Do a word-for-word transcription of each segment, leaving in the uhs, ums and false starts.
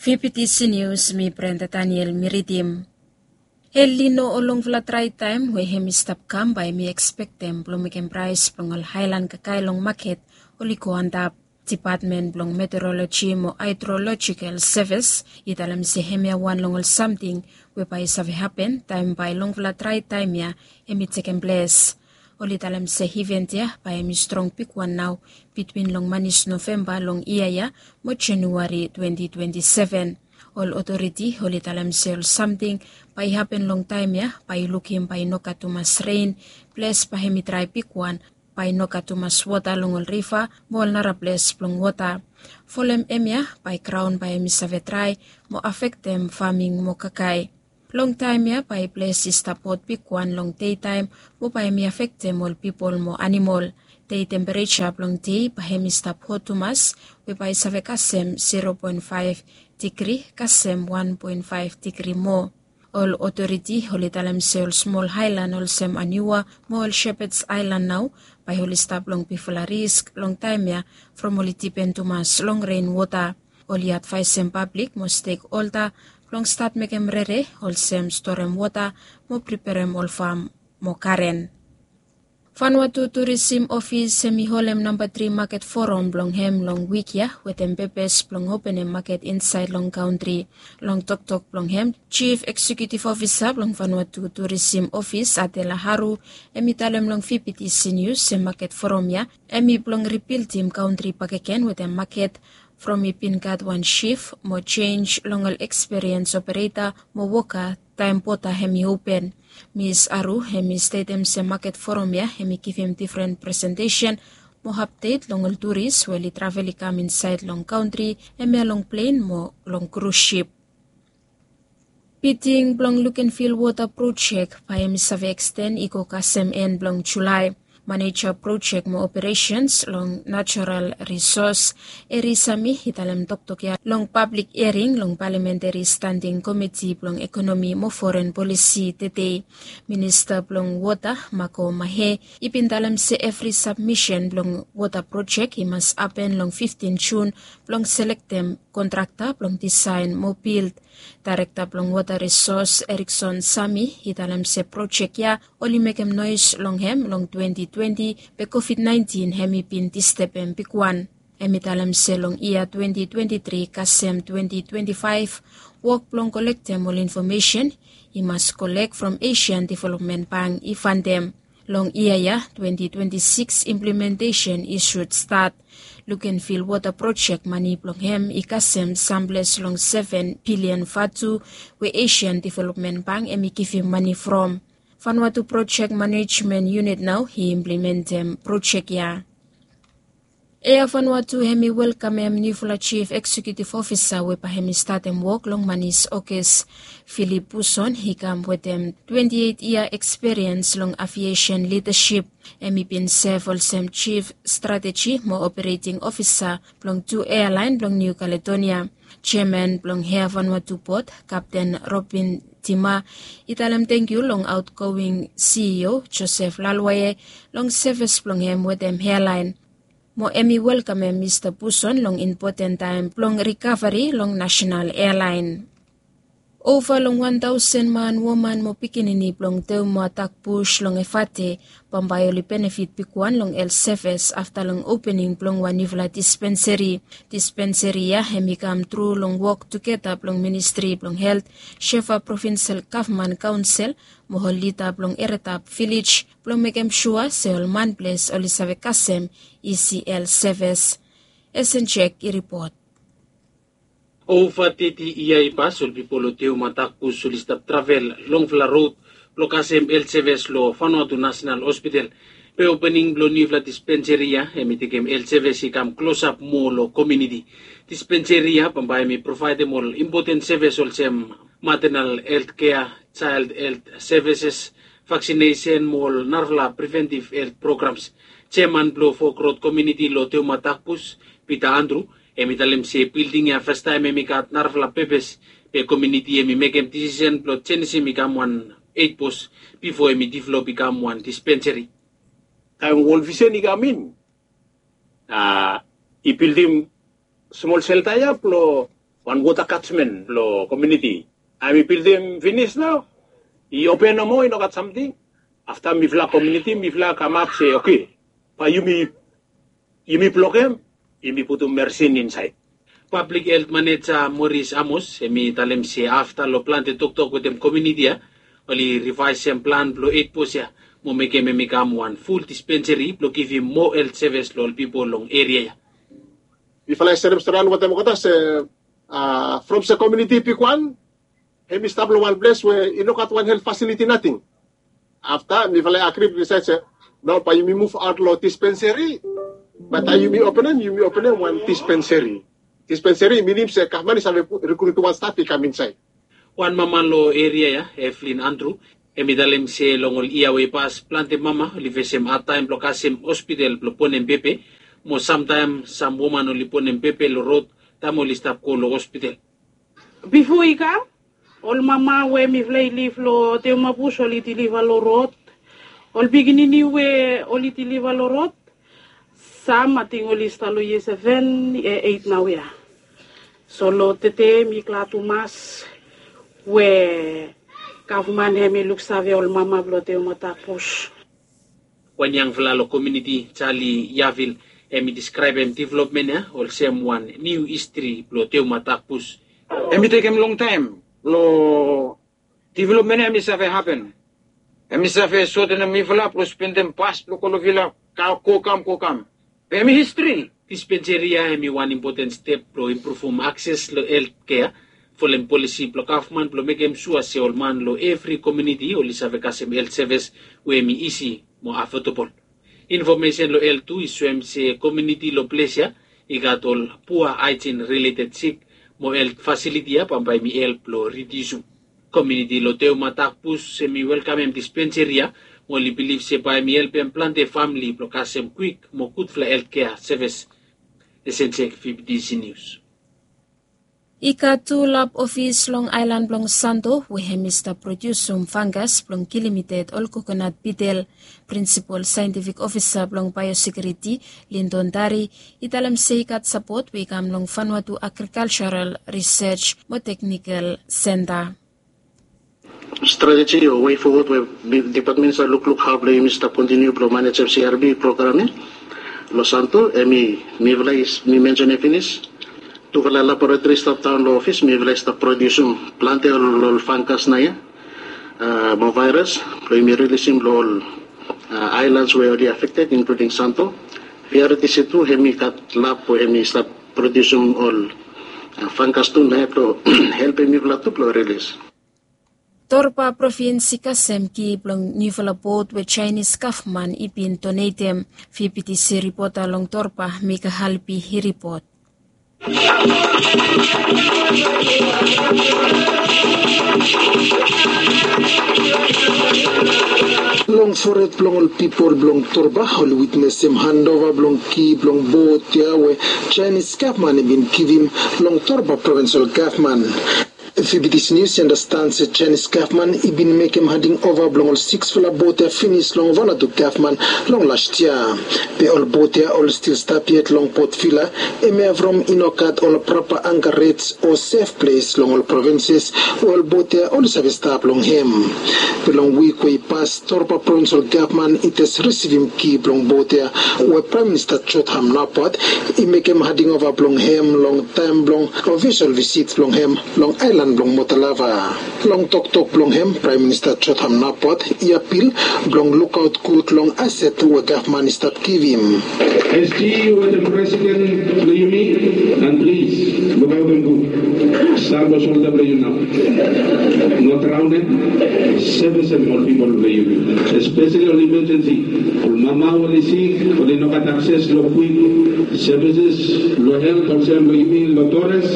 Pipitisi Nius, mi Brenda Daniel mi ridim. El Nino o longfala drae taem we hem i stap kam bae mi ekspektem blong mekem praes blong ol haelan kakae long maket oli go antap. Depatmen blong Meteoroloji mo Haedrolojikel Sevis i talem se hemia wan long ol samting we bae i save hapen taem bae longfala drae taem ya hem i tekem ples. Oli talem se iven ya bae hem i strong bigwan nao bitwin long manis Novemba long yia ya mo Januari twenti twenti seven. Ol otoriti oli talem se ol samting bae i hapen long taem ya bae i lukim bae i no gat tumas ren, ples bae hem i drae bigwan, bae i no gat tumas wota long ol riva mo ol nara ples blong wota. Folem hemia bae graon bae hem i save drae mo afektem faming mo kakae. Long taem ya bae ples i stap hot bigwan long dei taem mo bae hem i afektem ol pipol mo anamol. Dei tempereja blong dei bae hem i stap hot tumas we bae i save kasem zero poen faef digri kasem wan poen faef digri moa. Ol otoriti oli talem se ol smol aelan olsem Aniua mo ol Shepherds Aelan nao bae oli stap long bigfala risk long taem ya from oli dipen tumas long ren wota. Oli advaesem pablik mo stekholda blong stat mekem rere olsem storem wota mo priperem ol fam mo garen. Vanuatu Turisim Ofis hem i holem namba tri maket foram blong hem long wik ya wetem pepes blong openem maket insaed long kantri. Long toktok blong hem, Jif Eksekiutif Ofisa blong Vanuatu Turisim Ofis, Adela Haru, hem i talem long Pipitisi Nius se maket foram ya hem i blong ribildim kantri bakegen wetem maket from i bin gat wan sif mo jenis long ol ekspiriens opereta mo woka taem boda hem i open. Mis Haru hem i stetem se maket foram ya hem i givim difren presentesen mo apdet long ol turis we oli travel i kam insaed long kantri, hemia long plen mo long krus sip. Biding blong Lukenvil Wota Projek bae hem i save eksten i go kasem en blong Julae. Maneja projek mo operesens long natural risos, Eri Sami, i talem toktok ya long pablik hiaring long Palamenteri Standing Komiti blong Ekonomi mo Foren Polisi tede. Minista blong Wota, Mako Mahe, i bin talem se evri sabmisen blong wota projek i mas hapen long fiftin Jun blong selektem kontrakta blong disaen mo bild. Daerekta blong Wota Risos, Erikson Sami, i talem se projek ya oli mekem noes long hem long twenti twenti, be Kovid naentin hem i bin distebem bigwan. Hem i talem se long yia twenti twenti tri kasem twenti twenti faef, wok blong kolektem ol infomesen i mas kolek from Asian Developmen Bank i fantem. Long yia ya twenti twenti sikis, implimentesen i sud stat. Lukenvil Wota Projek mane blong hem i kasem samples long seven bilian vatu we Asian Developmen Bank hem i givim mane from. Vanuatu Projek Manejmen Yunit nao i implimentem projek ya. Air Vanuatu hem i welkamem niufala Jif Eksekiutif Ofisa we bae hem i statem wok long manis Ogos. Filip Puson i kam wetem twenti eit yia ekspiriens long aviesen lidasip. Hem i bin sev olsem Jif Strateji mo Opereting Ofisa blong tu ealaen blong Niu Kaledonia. Jeaman blong Air Vanuatu Bod, Kapten Robin Tima, i talem tangkiu long aotgoing CEO Josef Lalwae long sevis blong hem wetem ealaen. Mo hem i welkamem Mista Puson long impoten taem blong rikaveri long nasenal ealaen. Ova long wan taosen man, woman mo pikinini blong Teuma Dakbus long Efate bambae oli benefit bigwan long helt sevis afta long opening blong wan niufala dispenseri. Dispenseri ya hem i kam tru long wok tugeta blong Ministri blong Helt, Shefa Provinsel Gavman Kaonsel mo ol lida blong Eredap Vilej blong mekem sua se ol manples oli save kasem isi helt sevis. Esen Jek i ripot. Ova teti yia i pas ol pipol long Teuma Dakbus oli stap travel longfala rod blong kasem helt sevis long Vanuatu Nasenal Hospital. Be opening blong niufala dispenseri ya hem i tekem helt sevis i kam klosap moa long komuniti. Dispenseri ya bambae hem i provaedem ol impoten sevis olsem matenal helt kea, jael helt sevises, vaksinesen mo ol narafala preventiv helt programs. Jeaman blong Fok Rod Komuniti long Teuma Dakbus, Pita Andru, hem i talem se bilding ya fastaem hem i gat narafala pepes, be komuniti hem i mekem disisen blong jenisim i kam wan eit bos bifo hem i develop i kam wan dispenseri. Taem Wol Visen i kam in, a, i bildim smol selta ya blong wan wota katmen blong komuniti. Hemi bildim finis nao. I open nomo, i no gat samting. Afta mifala komuniti mifala kamap se, oke, bae yumi, yumi blokem, yumi putum mersin insaed. Pablik helt maneja Moris Amos hemi talem se afta long plante toktok wetem komuniti ya, oli rivaesem plan blong eit bos ya mo mekem hemi kam wan ful dispenseri blong givim moa helt sevis long ol pipol long eria ya. Mifala i serem storian wetem olgeta se, from se komuniti i bigwan, hemi stap long wan ples we i no gat wan helt fasiliti nating. Afta mifala i agri, wi disaed se, nao bae yumi muv aot long dispenseri. Bae taem yumi openem, yumi openem wan dispenseri. Dispenseri i minim se gavman i save rikrutim wan staf i kam insaed. Wan mama long eria ya, Evelyn Andrew, hemi talem se long ol yia we i pas plante mama oli fesem hadtaem blong kasem hospital blong bonem bebe, mo samtaem sam woman oli bonem bebe long rod taem oli stap go long hospital. Bifo i kam, ol mama we mifala i liv long Teoma bus oli diliva long rod. Ol pikinini we oli diliva long rod, sam ating oli stap long yia seven, eit naoia. So long tede mi glad tumas we gavman hemi luksave ol mama blong Teoma Takbus. Wan yangfala long komuniti, Charlie Yavil, hemi diskraebem developmen ya olsem wan niu histri blong Teoma Takbus. Hemi tekem longtaem blong developmen ya hemi save hapen. Hemi save sotenem mifala blong spendem bas blong go long vila, go kam, go kam. Be hemi histri. Dispenseri ya hemi wan impoten step blong impruvum akses long helt kea, folem polisi blong gavman blong mekem sua se ol man long evri komuniti oli save kasem helt sevis we hemi isi mo afodabol. Infomesen long helt tu i soem se komuniti long ples ya i gat ol pua haejin rileted sik, mo helt fasiliti ya bambae hemi help blong ridiusum. Komuniti long Teoma Takbus hemi welkamem dispenseri ya, mo oli bilif se bae hemi helpem plante famle blong kasem kwik mo gudfala helt kea sevis. Esensek, V B T C News. I gat tu lab ofis long aelan blong Santo we hemi stap prodiusum fangas blong kilim ded ol kokonat bitel. Prinsipol saentifik ofisa blong baeosekiuriti, Lindon Dari, i talem se i gat sapot we i kam long Vanuatu Agrikalsaral Risej mo Teknikal Senta. Strateji o wei fowod we dipatmen i save lukluk hao blong yumi stap kontiniu blong manejem C R B program ya long Santo, hemi, mifala i, mi mensenem finis. Tufala laboratori i stap daon long ofis, mifala i stap prodiusum plante ol, ol fangas naoia, mo vaeras blong yumi rilisim long ol aelans we oli afekted, inkluding Santo. V R T C tu hemi gat lab we hemi stap prodiusum ol fangas tu naoia blong helpem mifala tu blong rilis. Torba provins i kasem ki blong niufala bot we Jaenis gavman i bin donetem. V B T C ripota long Torba, Mika Halpi, i ripot. Long fored blong ol pipol blong Torba oli witnesem handova blong ki blong bot ya we Jaenis gavman i bin givim long Torba provinsol gavman. V B T C Nius i andastan se Jaenis gavman i bin mekem handing ova blong ol siksfala bot ya finis long Vanuatu gavman long las yia. Be ol bot ya oli stil stap yet long Port Vila, hemia from i no gat ol prapa anka rets o sef ples long ol provinses we ol bot ya oli save stap long hem. Be long wik we i pas, Torba provinsol gavman i jes risivim ki blong bot ya we Praem Minista Jotham Napat i mekem handing ova blong hem long taem blong ofisol visit blong hem long aelan blong Motalava. Long toktok blong hem, Praem Minista Jotham Napat i apil blong lukaot gud long aset we gavman i stap givim. As G E wetem Presiden blong yumi, and plis lukaotem gud. Stand long solda blong yu nao. No draonem, sevesem ol pipol blong yumi, espeseli ol imajensi. Ol mama we oli sik, oli no gat akses long kwik sevises, long helt olsem long yumi long Torres,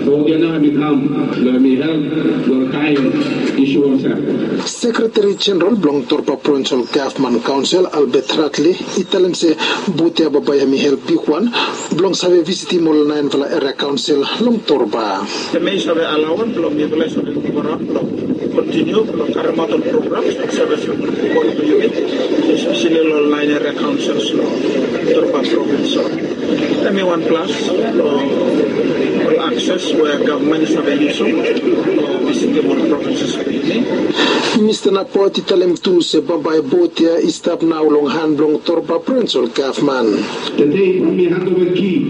bot ya nao hemi kam blong hemi help long ol kaen isu olsem. Sekreteri Jeneral blong Torba Provinsol Gavman Kaonsel, Albert Hartley, i talem se bot ya bambae hemi help bigwan blong save visitim ol naenfala eria kaonsel long Torba. Hemi save alaoem blong mifala i save muv araon blong kontiniu blong karemaot ol programs blong sevis pipol blong yumi, espeseli long ol naen eria kaonsels long Torba provins. So hemi wan plas long ol an. Mista Napot i talem tu se bambae bot ya i stap nao long han blong Torba Brens ol gavman. Tede yumi handova ki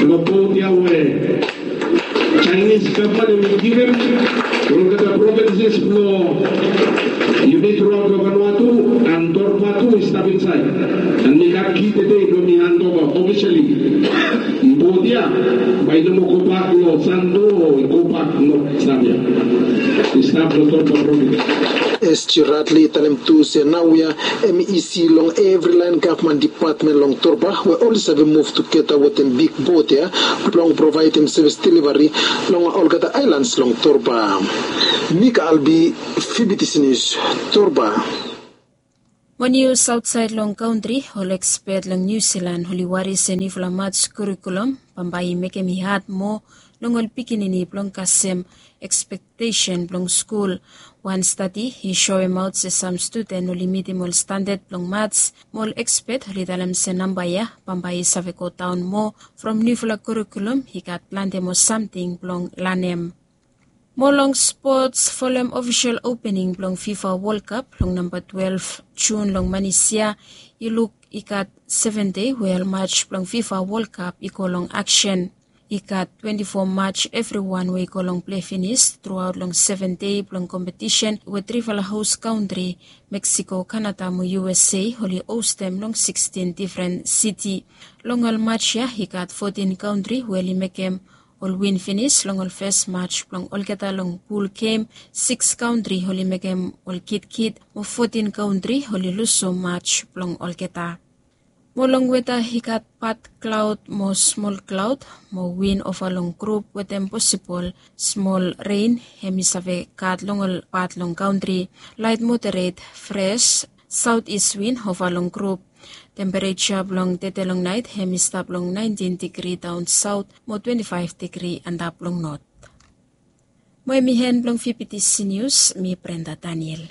long bot ya we Chinese gavman hem i givim long olgeta provinces blong yumi truaot long Vanuatu, and Torba tu i stap insaed. And mi gat ki tede blong mi handova ofisali. Bot ya bae i no moa gobak long Santo o i gobak long Sabia. I stap long Torba provins. S G Radley i talem tu se naoia hem i isi long evri laen gavman dipatmen long Torba we oli save muv tugeta wetem big bot ya blong provaedem sevis delivari long olgeta aelans long Torba. Mika Albi, Fibitisi Nius, Torba. Mo nius aotsaed long kantri, ol ekspet long Niu Silan oli wari se niufala mats kurikulum bambae i mekem i had moa long ol pikinini blong kasem ekspektesen blong skul. Wan stadi i soemaot se sam studen oli mitim ol standad blong mats, mo ol ekspet oli talem se namba ya bambae i save godaon moa from niufala kurikulum i gat plante moa samting blong lanem. Mo long spots, folem ofisol opening blong FIFA World Cup long namba twelve Jun long manis ya, i luk i gat seven dei we ol mats blong FIFA World Cup i go long aksen. I gat twenti fo mats evriwan we i go long plei finis truaot long seven dei blong kompetisen we trifala hos kantri, Mexico, Canada mo U S A, oli hostem long sixteen difren siti. Long ol mats ya i gat fotin kantri we oli mekem ol win finis long ol fes mats blong olgeta long pul gem, siks kantri oli mekem ol kitkit, mo fotin kantri oli lusum mats blong olgeta. Mo long weta i gat pat klaod mo smol klaod mo win ova long grup wetem posibol smol ren hem i save gat long ol pat long kantri. Laet moderet fres saot is win ova long grup. Tempereja blong tede long naet hem i stap long naentin digri daon saot mo twenti faef digri antap long not. Mo hem i hen blong Fibitisi Nius, mi Brenda Daniel.